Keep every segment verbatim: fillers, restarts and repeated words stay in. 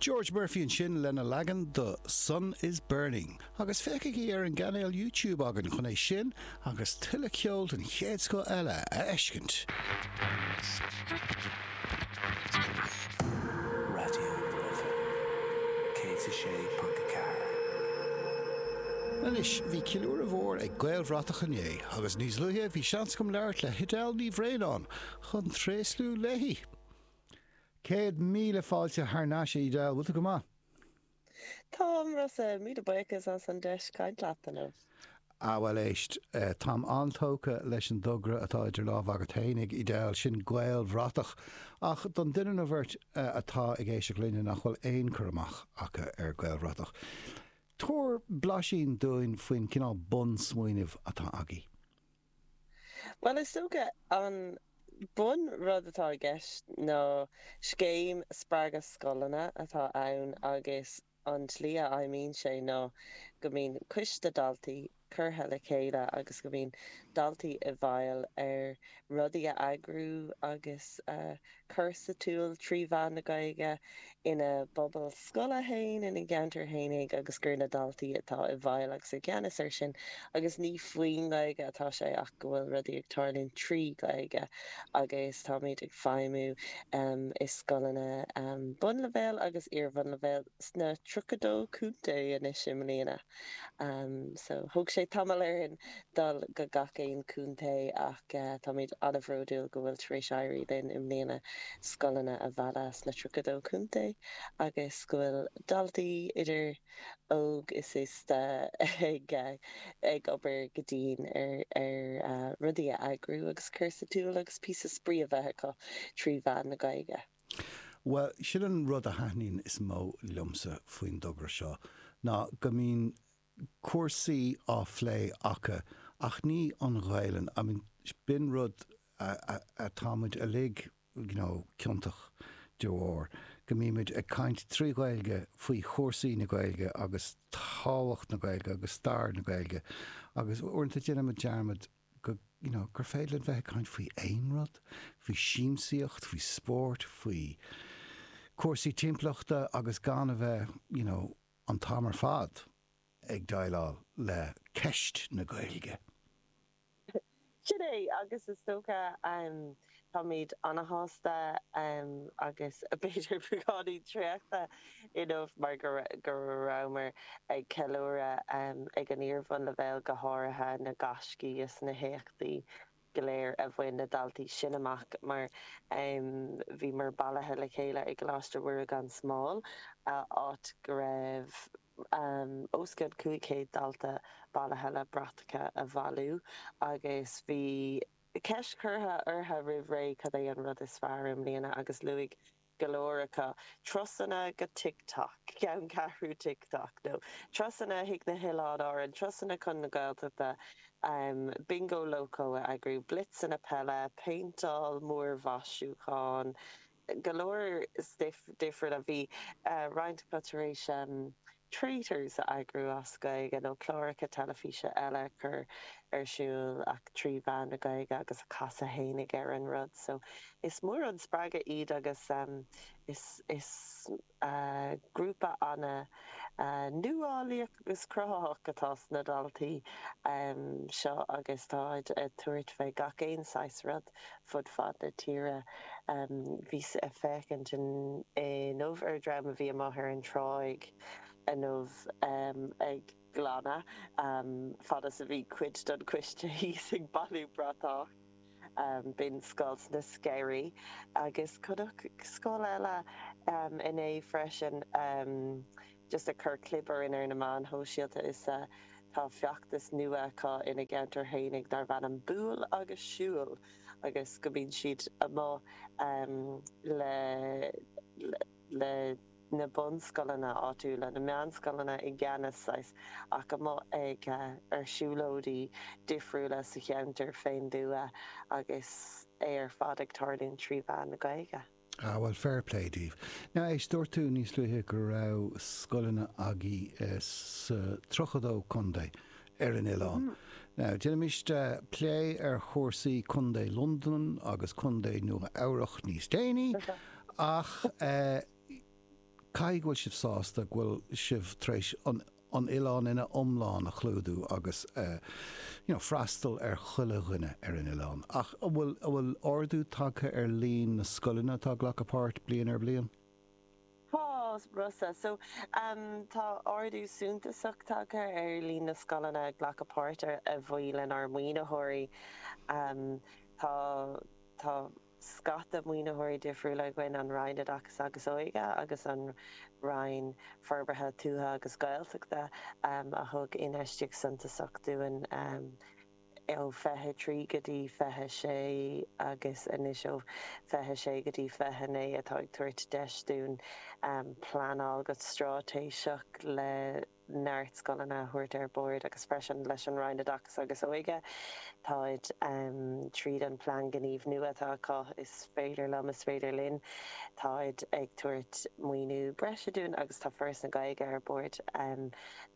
George Murphy ansin lena leagan de Sun is Burning, agus féachaigí ar an gcainéal YouTube againn chun é sin agus tuilleadh ceoil den chéad scoth eile a fheiscint. Raidió na Life céad a sé ponc a ceathair. Anois, bhí ceiliúradh mhór ag Gaelbhratach inné, agus níos luaithe bhí seans agam labhairt le hEdel Ní Bhraonáin chun tréaslú léi. Céad míle fáilte thar n-ais, a Edel, bhfuil tú go maith? Táim, Rossa, míle buíochas as an deis caint leat inniu. Ah bhuel éist, táim an-tógtha leis an dtogra atá idir lámha agat fhéinig, Edel, sin Gaelbhratach. Ach don duine nó bheirt atá ag éisteacht linne nach bhfuil aon cur amach acu ar Gaelbhratach, tabhair blaisín dúinn faoin cineál bunsmaoineamh atá agaibh. Bhuel, is dócha an bun rud atá i gceist ná scéim spreagadh scoileanna atá ann agus an tslí a fheidhmíonn sé ná go mbíonn coiste daltaí curtha le chéile agus go mbíonn daltaí i bhfeighil ar rudaí a eagrú agus a chur sa tsiúl trí mheán na Gaeilge ina bpobal scoile féin, ina gceantar fhéinig agus gur na daltaí atá i bhfeighil agus i gceannas air sin agus ní faoin nGaeilge atá sé ach go bhfuil rudaí ag tarlúint trí Ghaeilge agus táimid ag feidhmiú i scoileanna bunleibhéil agus iar-bhunleibhéil sna tríocha dó contae anois i mbliana. So thóg sé tamall orainn dul go gach aon chontae ach táimid an-bhródúil go bhfuil tar éis éirí linn i mbliana scoileanna a mhealladh sna tríocha dó contae agus go bhfuil daltaí idir óg is aosta ag ag obair go dian ar ar rudaí a eagrú agus cur sa tsiúl agus píosa spraoi a bheith acu trí mheán na Gaeilge. Bhuel, sin an rud a thaitníonn is mó liomsa faoin dtogra seo, ná go mbíonn cúrsaí á phlé acu ach ní an Ghaelainn. I mean, b'in rud atá muid uilig, you know, ciontach de bharr, go mbímid ag caint trí Ghaeilge faoi chúrsaí na Gaeilge agus tábhacht na Gaeilge agus stair na Gaeilge agus uaireanta déanaimid dearmad go, you know, gur féidir linn bheith ag caint faoi aon rud, faoi siamsaíocht, faoi spórt, faoi cúrsaí timpeallachta agus gan a bheith, you know, an t-am ar fad ag déileáil le ceist na Gaeilge. Sin é, agus is dócha táimid an-shásta agus b'fhéidir beagáinín traochta inniu mar go go rabhamar ag ceiliúradh ag an iar-bhunleibhéal go háirithe na gaiscí is na héachtaí go léir a bhain na daltaí sin amach mar bhíomar bailithe le chéile i gColáiste Mhuire gan Smál, áit go raibh os cionn cúig chéad dalta bailithe le bratacha a bhailiú agus bhí ceist curtha orthu roimh ré cad é an rud is fearr i mbliana agus luaigh go leor acu turasanna go TikTok, ceanncheathrú TikTok, nó turasanna chuig na hOileáin Árann, turasanna chun na Gaeltachta, Bingo Loco a eagrú, blitzeanna peile, péinteáil múrmhaisiúcháin, go leor stuif difriúil. Bhí roinnt acu tar éis Traitors a eagrú as Gaeilge nó cláracha teilifíse eile a chur ar siúl ach trí mheán na Gaeilge agus a casadh fhéinig ar an rud. So is mór an spreagadh iad agus is is grúpa ana nuálaíoch agus cruthaitheach atá sna daltaí seo agus táid ag tabhairt fé gach aon saghas rud fud fad na tíre. Bhíos ag féachaint inniu ar dream a bhí amuigh ar an tráigh inniu ag glanadh fad is a bhí cuid den choiste thíos ag bailiú bratach. B'in scoil sna Sceirí agus chonac scoil eile inné freisin just ag cur clib orainn ar na meáin shóisialta is tá feachtas nua acu ina gceantar fhéinig darb ainm Buail agus Siúil agus go mbíonn siad amuigh le le na bunscoileanna áitiúla, na meánscoileanna i gceannas saghas, ach amuigh ag ar siúlóidí difriúla sa cheantar fén dtuath agus é ar fad ag tarlúint trí mheán na Gaeilge. Ah bhuel, fair play daoibh. Now éist, dúirt tú níos luaithe go raibh scoileanna agaibh sa tríocha dó contae ar an oileán. Now, déanaimis plé ar chúrsaí Contae Londan agus Contae Nua Eabhrach níos déanaí, ach Caithfidh go bhfuil sibh sásta go bhfuil sibh tar éis an an oileán ina iomlán a chlúdú agus you know freastal ar chuile dhuine ar an oileán. Ach an bhfuil an bhfuil ardú tagtha ar líon na scoileanna atá ag glacadh páirt bliain ar bhliain? Tá, Rossa. So, tá ardú suntasach tagtha ar líon na scoileanna ag glacadh páirt a bhuí lenár maoinitheoirí. Tá tá scata maoinitheoirí difriúla againn, an Roinn Oideachais agus Óige agus an Roinn Forbartha Tuaithe agus Gaeltachta, a thug infheistíocht suntasach dúinn ó fiche trí go dtí fiche sé agus anois ó fiche sé go dtí fiche naoi atá ag tabhairt deis dúinn pleanáil go straitéiseach le neart scoileanna a thabhairt ar bord agus freisin leis an Roinn Oideachais agus Óige. Táid tríd an plean gnímh nua atá acu, Is féidir liom, is féidir linn, táid ag tabhairt maoiniú breise dúinn agus tá Foras na Gaeilge ar bord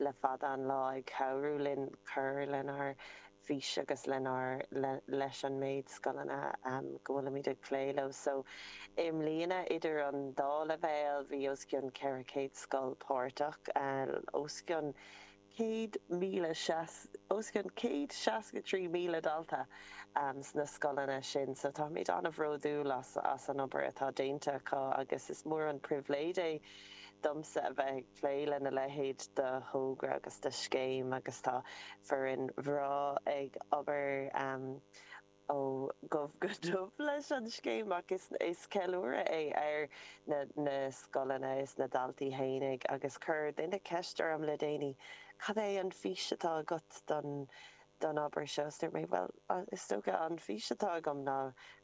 le fada an lá ag cabhrú linn cur lenár bhfís agus lenár leis an méid scoileanna go bhfuilimid ag plé leo. So, i mbliana, idir an dá leibhéal, bhí os cionn ceithre chéad scoil páirteach, os cionn céad míle os cionn céad seasca trí míle dalta sna scoileanna sin. So, táimid an-bhródúil as as an obair atá déanta acu agus is mór an pribhléid é domsa a bheith ag plé lena leithéid de thogra agus de scéim agus tá foireann bhreá ag obair ó dhubh go dubh leis an scéim ach is is ceiliúradh é ar na na scoileanna is na daltaí fhéinig agus chuir duine ceist orm le déanaí cad é an fís atá agat don don obair seo is dúirt mé bhuel is dócha an fís atá agam ná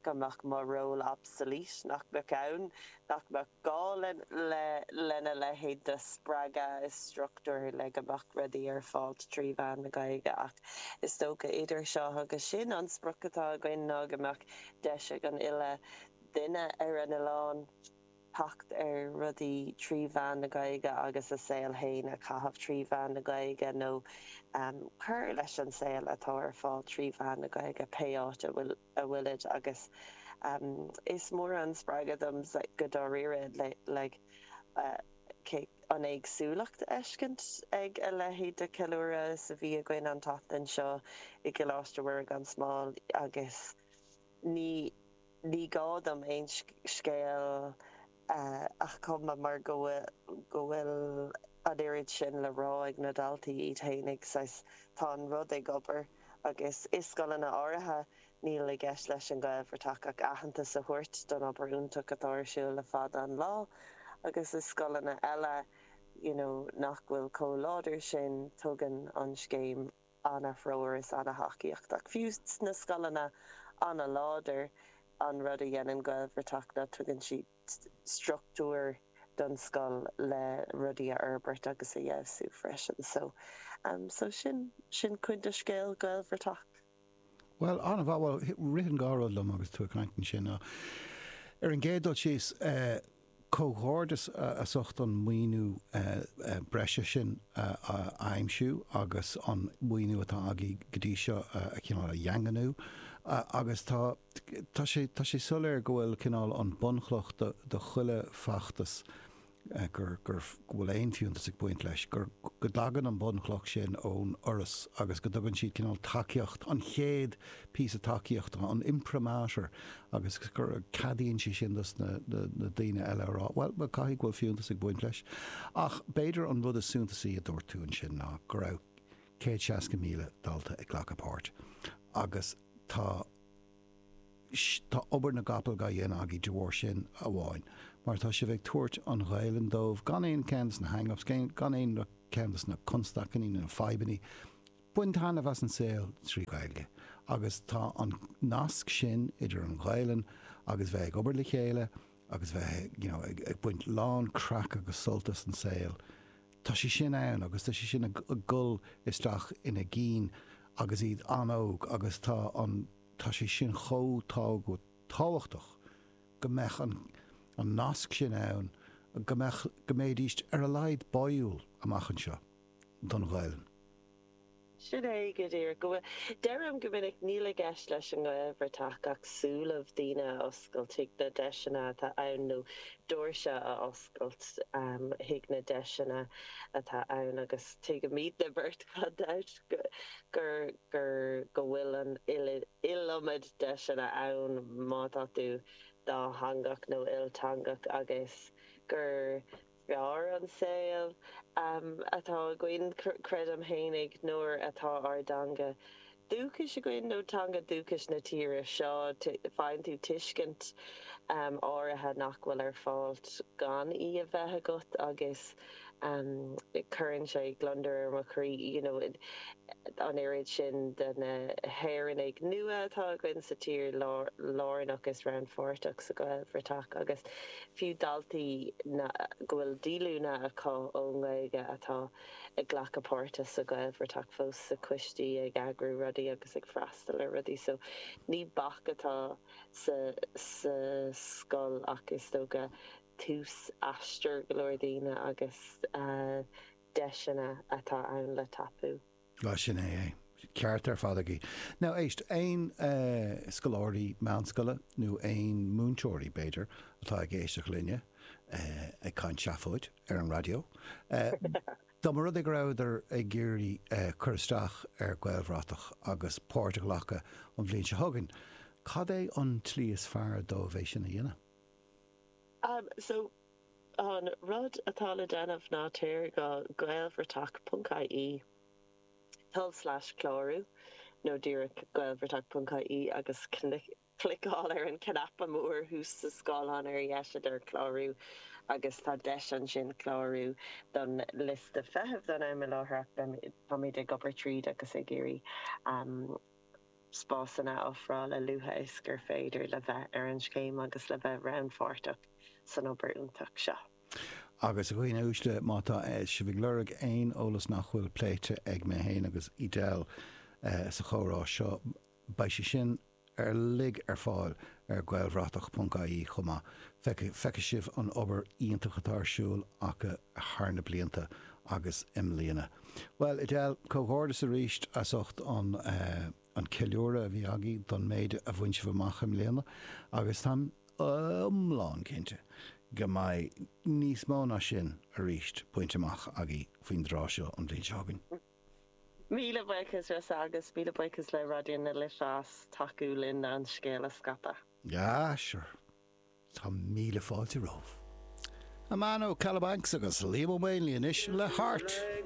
go mbeadh mo ról obsolete, nach mbeadh ann, nach mbeadh gá le le lena leithéid de spreagadh is struchtúr le go mbeadh rudaí ar fáil trí mheán na Gaeilge ach is dócha idir seo agus sin an sprioc atá againn ná go mbeadh deis ag an uile duine ar an oileán teacht ar rudaí trí mheán na Gaeilge agus a saol féin a chaitheamh trí mheán na Gaeilge nó cur leis an saol atá ar fáil trí mheán na Gaeilge pé áit a bhfuil a bhfuilid agus is mór an spreagadh dom go dáiríre like an éagsúlacht a fheiscint ag a leithéid de cheiliúradh is a bhí againn an tseachtain seo i gColáiste Mhuire gan Smál agus ní Ní gá dom aon scéal a chumadh mar go bhfuil an oiread sin le rá ag na daltaí iad fhéinig. Saghas, tá an rud ag obair agus i scoileanna áirithe níl i gceist leis an Ghaelbhratach ach aitheantas a thabhairt don obair iontach atá ar siúl le fada an lá agus i scoileanna eile you know nach bhfuil chomh láidir sin tugann an scéim ana-threoir is ana-thacaíocht. Ach fiú sna scoileanna ana-láidir, an rud a dhéanann Gaelbhratach ná tugann siad struchtúr don scoil le rudaí a fhorbairt agus a fheabhsú freisin. So, um, so sin, sin cuid de scéal Gaelbhratach. Bhuel, an-mhaith. Bhuel, ritheann dhá rud liom agus tú ag caint ansin. Ar an gcéad dul síos, eh, Comhghairdeas as ucht an maoiniú breise sin a aimsiú agus an maoiniú atá agaibh go dtí seo a chineál a dhaingniú agus tá tá sé tá sé soiléir go bhfuil cineál an bunchloch do do chuile feachtas gur gur go bhfuil aon fiúntas ag baint leis, gur go dtagann an bunchloch sin ón Fhoras agus go dtugann siad cineál tacaíocht, an chéad píosa tacaíochta, an imprimatur agus gur ceadaíonn sé sin dos na na daoine eile a rá, bhuel, bhuel caithfidh go bhfuil fiúntas ag baint leis. Ach b'fhéidir an rud is suntasaí a dúirt tú ansin ná go raibh céad seasca míle dalta ag glacadh páirt agus tá Tá obair na gcapall dhá dhéanamh agaibh de bharr sin amháin, mar tá sibh ag tabhairt an Ghaelainn dóibh gan aon cheann des na hang-ups, gan aon cheann des na constaicí nó na fadhbanna. Bain taitneamh as an saol trí Ghaeilge. Agus tá an nasc sin idir an Ghaelainn agus bheith ag obair le chéile agus bheith you know ag baint lán craic agus sult as an saol, tá sé sin ann agus tá sé sin ag dul isteach ina gcinn agus iad an-óg agus tá an Tá sé sin chomh tábhachtach go mbeadh an an nasc sin ann, go mbeadh, go mbeidís ar a laghad báúil amach anseo don Ghaelainn. Sin é go díreach go bhfuil. Deirim go minic níl i gceist leis an nGaelbhratach ach súilibh daoine a oscailt chuig na deiseanna atá ann nó doirse a oscailt chuig na deiseanna atá ann agus tuigimidne beirt gan dabht gur gur go bhfuil an iliomad deiseanna ann má tá tú dátheangach nó ilteangach agus gur fearr an saol atá againn, creidim fhéinig, nuair atá ár dteanga dúchais againn nó teanga dúchais na tíre seo, faigheann tú tuiscint áirithe nach bhfuil ar fáil gan í a bheith agat agus cuireann sé gliondar ar mo chroí you know an oiread sin de na hÉireannaigh nua atá againn sa tír lárnach is rannpháirteach sa Ghaelbhratach agus fiú daltaí go bhfuil díolúine acu ón nGaeilge atá ag glacadh páirte sa Ghaelbhratach fós sa choistí ag eagrú rudaí agus ag freastal ar rudaí so ní bac atá sa sa scoil ach is dócha tús aistear go leor daoine agus deiseanna atá ann le tapú. Á, sin é é. Ceart ar fad agaibh. Now, éist, aon scoláirí meánscoile nó aon múinteoirí, b'fhéidir, atá ag éisteacht linne, ag caint seafóid ar an raidió, dá mba rud é go rabhadar ag iarraidh cur isteach ar Ghaelbhratach agus páirt a ghlacadh an bhliain seo chugainn, cad é an tslí is fearr dóibh é sin a dhéanamh? Um, so, an rud atá le déanamh ná téir go gaelbhratach ponc ie tulslais clárú nó díreach gaelbhratach ponc ie agus cliceáil ar an cnaipe mór thuas sa scáileán ar dheis a deir clárú agus tá deis ansin clárú don liosta feithimh don am i láthair ach táimid ag obair tríd agus ag iarraidh spásanna a ofráil a luaithe is gur féidir le bheith ar an scéim agus le bheith rannpháirteach san obair iontach seo. Agus a dhaoine uaisle, má tá sibh ag lorg aon eolas nach bhfuil pléite ag mé féin agus Edel sa chomhrá seo, beidh sé sin uilig ar fáil ar gaelbhratach ponc ie chomh maith. Feicfidh sibh an obair iontach atá ar siúl acu thar na blianta agus i mbliana. Bhuel, Edel, comhghairdeas arís as ucht an an ceiliúradh a bhí agaibh don méid a bhain sibh amach i mbliana agus táim iomlán cinnte go mbeidh níos mó ná sin arís bainte amach agaibh faoin dtráth seo an bhliain seo chugainn. Míle buíochas Rossa agus míle buíochas le Raidió na Life as tacú linn an scéal a scaipeadh. Ah, sure. Tá míle fáilte romhaibh. Amano, Kalabanx agus Liam Ó Maonlaí anois le Heart.